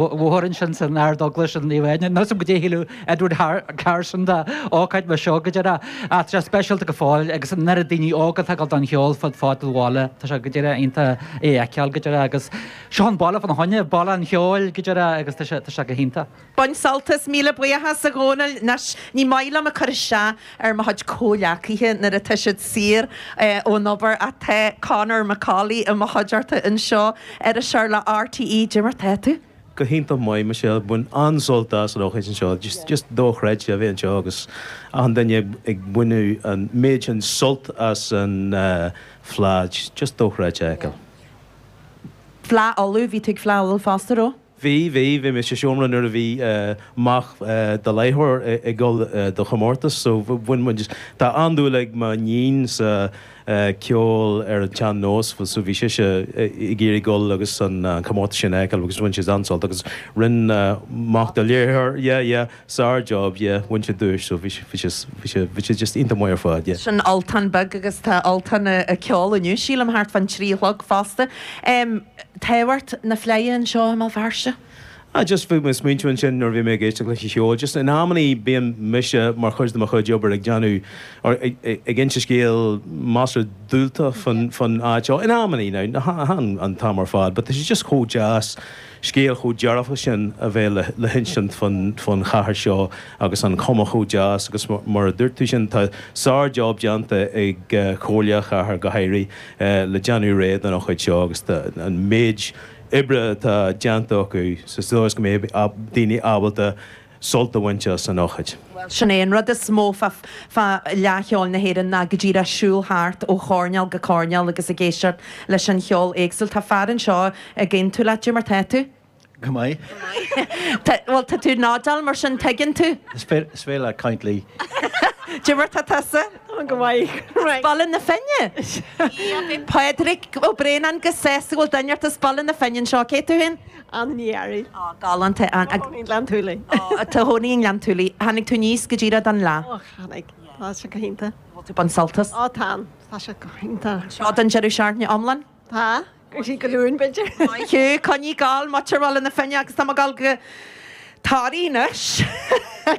Bhóthar ansin san Ardeaglais in Naomh Áine. Níl 'fhios a'm goidé a shílfeadh Edward Carson de ócáid mar seo go díreach. Ach tá sé speisialta go fóill agus an oiread daoine óga atá ag dul don cheol fud fad an bhaile. Tá sé go díreach iontach é a fheiceáil go díreach agus seo an baile fána choinne, baile an cheoil go díreach agus tá sé, tá sé go hiontach. Bain sult as, míle buíochas a Dhónaill. Anois, ní maith liom ag cur isteach ar mo chuid comhghleacaithe nuair atá siad saor ón obair ach tá Conor McAuley i mo chuideachta anseo, iriseoir le RTÉ. Cad é mar tá tú? Go hiontach maith, Michelle. Bhain an-sult as an ócáid anseo. Just, just dochreidte a bheith anseo agus achan duine ag baineadh an méid sin sult as an Fleadh. Just dochreidte a fheiceáil. Fleadh Uladh, bhí tú ag Fleadh Uladh fosta, raibh? Bhí, bhí. Bhí mé sa seomra nuair a bhí mac do léitheoir ag dul do chomórtas so bhain muid, tá an-dúil ag mo níon sa ceol ar an tsean-nós so bhí sise ag iarraidh dul agus an comórtas sin a fheiceáil agus bhain siad an-sult agus rinne mac do léitheoir, yeah, yeah, sár-job, yeah, bhain sé duais so bhí sé, bhí sé, bhí sé, bhí sé just iontach maith ar fad, yeah. Sin Ultan Beag agus tá Ultan ag ceol inniu sílim thart fán trí a chlog fosta. Tábhacht na Fleidhe anseo i mBéal Feirste? Ah just bhí mé ag smaointiú ansin nuair a bhí mé ag éisteacht leis an cheol, just in amannaí bíonn mise mar chuid de mo chuid obair ag déanamh or ag inse scéal measartha diúltach fán fán áit seo, in amannaí now, chan an t-am ar fad, but tá sé just chomh deas scéal chomh dearfach sin a bheith le le hinsint fán fán chathair seo agus an chuma chomh deas agus mar a dúirt tú sin tá sár-job déanta ag Comhairle an Chathair go háirithe le déanamh réidh don ócáid seo agus an méid oibre atá déanta acu sa dóigh is go mbeidh daoine ábalta sult a bhaint as an ócáid. Bhuel, sin é an rud is mó fá Fhleadh Cheoil na hÉireann ná go díreach siúl thart ó choirnéal go coirnéal agus ag éisteacht leis an cheol éagsúil. Tá fear anseo ag aontú leat, cad é mar tá tú? Go maith. Bhuel, tá tú ag nodáil, mar sin tuigeann tú. Is féidir leat caint leí. Cad é mar tá tusa? Tá go maith. As Baile na Finne? Pádraig Ó Braonáin go sásta go bhfuil duine ort as Baile na Finne anseo. Cé tú féin? Anna Ní Fhearraigh. Ó, galánta. I mo chónaí i nGleann tSúilí. Ó, tá cónaí i nGleann tSúilí. Tháinig tú aníos go díreach don fhleadh? Ó, tháinig. Tá sé go hiontach. Bhfuil tú ag baint sult as? Ó, tá. Tá sé go hiontach. Seo don deireadh seachtaine iomlán? Tá. Go dtí go Luan, b'fhéidir. Maith thú, coinnigh ag gabháil, muintir Bhaile na Finne agus tá mé ag gabháil go Toraigh anois,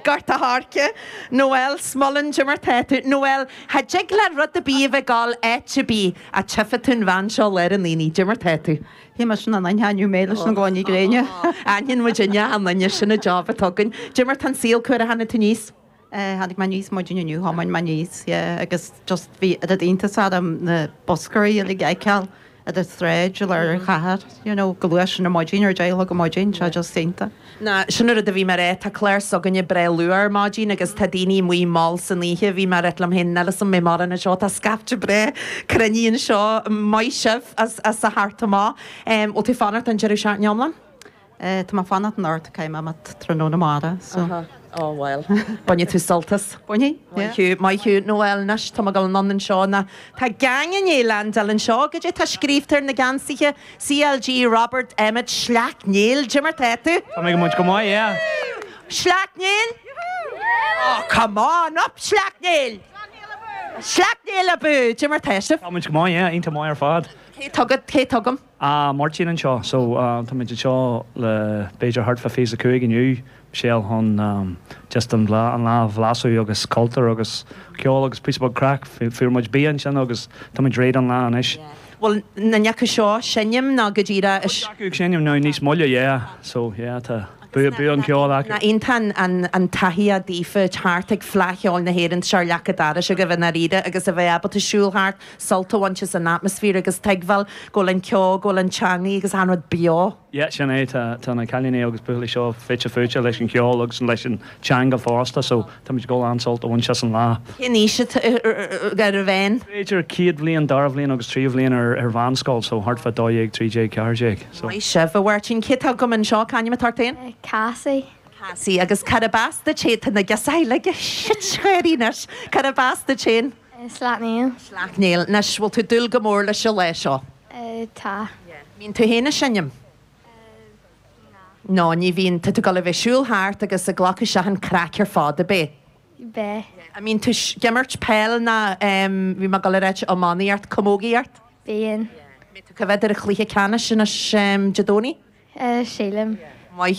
Gort a' Choirce, Noel Smullen, cad é mar tá tú? Noel, cha dtig le rud ar bith a bheith ag gabháil áit ar bith ach tchífidh tú an bhean seo i lár an aonaigh, cad é mar tá tú? Bhí mise in ann aithniú mé leis na gloiní gréine. Aithníonn muid achan duine, sin an job atá againn. Cad é mar tá an saol, cá huair a tháinig tú aníos? Tháinig mé aníos maidin inniu, thiomáin mé aníos, yeah, agus just bhí oiread iontas orm na buscairí uilig a fheiceáil ar an tsráid i lár an chathair, you know, chomh luath sin ar maidin, ar 10 a chlog ar maidin, sé just iontach. Ná, sin an rud a bhí mé a rá, tá clár s'againne breá luath ar maidin agus tá daoine amuigh mall san oíche, bhí mé a rá liom féin, níl 'fhios a'm an mbeidh mórán anseo, tá scaifte breá cruinnithe anseo, maith sibh as as a theacht amach. Bhfuil tú ag fanacht don deireadh seachtaine iomlán? Tá mé ag fanacht anocht, caithfidh mé imeacht tráthnóna amárach, so. Aha, oh well. Bainfidh tú sult as. Bainfidh, yeah. Maith thú, maith thú. Noel, anois tá mé ag dul anonn anseo ná tá geaing i ndiaidh leaindeáil anseo, goidé tá scríobhta ar na geansaithe, CLG Robert Emmet Sleacht Néill, cad é mar tá tú? Tá mé go maith, go maith, yeah. Sleacht Néill? Oh, come on, up Sleacht Néill! Sleacht Néill abú! Cad é mar tá sibh? Tá muid go maith, yeah, iontach maith ar fad. Cé tá agat, cé tá agam? Ah, Máirtín anseo. So, tá muid anseo le b'fhéidir thart fá 25 inniu, Michelle, chun just an lá, an lá a bhlaiseadh agus cultúr agus ceol agus píosa beag craic. Fuair muid bia ansin agus tá muid réidh don lá anois. Bhfuil aon duine acu seo ag seinm nó go díreach is. Cuid acu ag seinm now níos moille, yeah. So, yeah, tá bua, bua an ceoil acu. Nach iontach an, an taithí daofa thart ag Fleadh Cheoil na hÉireann, tá sé ar leac an dorais agaibh i ndáiríre agus a bheith ábalta siúl thart, sult a bhaint as an atmaisféar agus tuigbheáil go bhfuil an ceol, go bhfuil an teangaidh agus achan rud beo. Yeah, sin é, tá, tá na cailíní agus buachaillí seo fite fuaite leis an cheol agus leis an teanga fosta so tá muid ag dul an-sult a bhaint as an lá. Cén aois atá ar an mheán? B'fhéidir chéad bhliain, dara bhliain agus tríú bhliain ar, ar mheánscoil so thart fá 12, 13, 14 so. Maith sibh, a Mháirtín. Cé tá agam anseo? C'ainm atá ort féin? Cassie. Cassie. Agus cárb as duit féin? Tá na girseachaí uilig ag sitgháirí anois. Cárb as duit féin? Sleacht Néill. Sleacht Néill. Anois, bhfuil tú ag dúil go mór leis an lá seo? Tá. Mbíonn tú féin ag seinm? Ná. No, ní bhíonn. Tá tú ag dul a bheith ag siúl thart agus ag glacadh isteach an craic ar fad, ab é? Beidh. An mbíonn tú ag imirt peil ná bhí mé ag dul a ráit iománaíocht, camógaíocht? Bíonn. Mbeidh tú ag coimhéad ar an chluiche ceannais anois Dé Domhnaigh? Sílim.